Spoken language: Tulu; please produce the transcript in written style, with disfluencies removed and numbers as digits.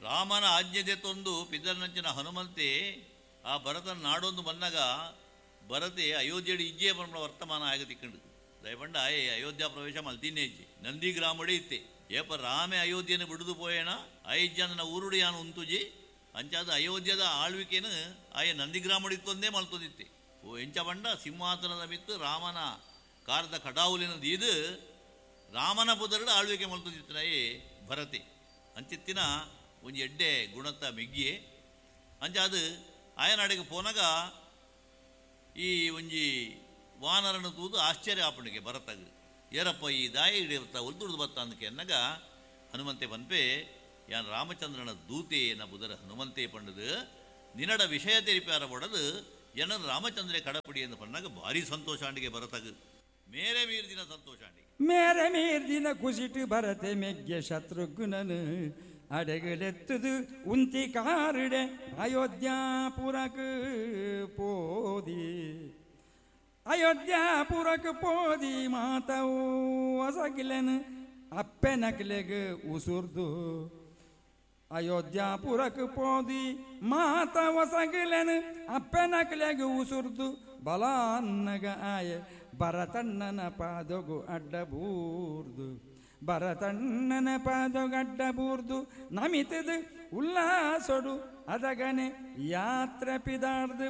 ರಾಮನ ಆಜ್ಞೆ ತಂದು ಪಿದರ್ನಂಚಿನ ಹನುಮಂತೆ ಆ ಭರತನ ನಾಡೊಂದು ಬಂದಾಗ ಭರತೆ ಅಯೋಧ್ಯೆಡು ಇಜ್ಜೆ ಪನ್ಪುನ ವರ್ತಮಾನ ಆಗ ತಿಕ್ಕಂಡು. ದಯಪಂಡ ಆಯೆ ಅಯೋಧ್ಯ ಪ್ರವೇಶ ಮಲ್ತಿನ್ನೇ ಇಜ್ಜೆ, ನಂದಿ ಗ್ರಾಮಡೆ ಇತ್ತೆ. ಏಪ ರಾಮೆ ಅಯೋಧ್ಯೆನ ಬಿಡುದು ಪೋಯೇಣ ಅಯೋಧ್ಯನ ಊರುಡು ಯಾನು ಉಂತುಜಿ ಅಂಚಾದ ಅಯೋಧ್ಯದ ಆಳ್ವಿಕೆನು ಆಯೆ ನಂದಿ ಗ್ರಾಮಡಿತ್ತೊಂದೇ ಮಲ್ತೊಂದಿತ್ತೆ. ಓ ಎಂಚ ಪಂಡ ಸಿಂಹಾಸನದ ಮಿತ್ತು ರಾಮನ ಕಾರದ ಕಡಾವುಲಿನ ದೀದು ರಾಮನ ಪುದರುಡು ಆಳ್ವಿಕೆ ಮಲ್ತೊಂದಿತ್ತನಾಯೆ ಭರತೆ. ಅಂಚಿತ್ತಿನ ಒಂಜಿ ಎಡ್ಡೆ ಗುಣತ ಮೆಗ್ಗಿಯೆ. ಅಂಚಾದ ಆಯನಾಡಿಗೆ ಪೋನಾಗ ಈ ಒಂಜಿ ವಾನರನ್ನು ತೂದು ಆಶ್ಚರ್ಯ ಆಪಣಿಗೆ ಭರತಗ್. ಏರಪ್ಪ ಈ ದಾಯಿ ಹಿಡಿಯರ್ತ ಒಲ್ದುಡ್ದು ಬತ್ತ ಅಂದಕ್ಕೆ ಎನ್ನಗ ಹನುಮಂತೆ ಪನ್ಪೆ, ಯಾನ್ ರಾಮಚಂದ್ರನ ದೂತೆ ನ ಬುದರ ಹನುಮಂತೆ ಪಂಡದು ನಿನ್ನಡ ವಿಷಯ ತೆರಿಪಾರ ಒಡದು ಎನ್ನ ರಾಮಚಂದ್ರೆ ಕಡಪಡಿ ಎಂದು ಪನ್ನಾಗ ಭಾರಿ ಸಂತೋಷಾಂಡಿಗೆ ಭರತಗ್. ಮೇರೆ ಮೀರ್ದಿನ ಸಂತೋಷಾಂಡಿಗೆ ಮೇರೆ ಮೀರ್ದಿನ ಕುಸಿಟು ಭರತೆ ಮೆಗ್ಗೆ ಶತ್ರುಘ್ನನು ಅಡಗಲೆತ್ತದು ಉಂತಿ ಕಾರುಡೆ ಅಯೋಧ್ಯಾಪುರಕ್ ಪೋದಿ. ಅಯೋಧ್ಯಾಪುರಕ್ ಪೋದಿ ಮಾತವು ಹೊಸಗಿಲೆನು ಅಪ್ಪೆನಕ್ಲೆಗ್ ಉಸುರ್ದು. ಅಯೋಧ್ಯಾಪುರಕ್ ಪೋದಿ ಮಾತ ಹೊಸಗಿಲೆನು ಅಪ್ಪೆನಕ್ಲೆಗ್ ಉಸುರ್ದು. ಬಲಾನ್ನಗ ಆಯೆ ಭರತಣ್ಣನ ಪಾದಗು ಅಡ್ಡಬೂರ್ದು. ಭರತಣ್ಣನ ಪಾದಗಡ್ಡ ಬೂರ್ದು ನಮಿತದು ಉಲ್ಲಾಸೊಡು ಅದಗನೆ ಯಾತ್ರೆ ಪಿದಾರ್ದು.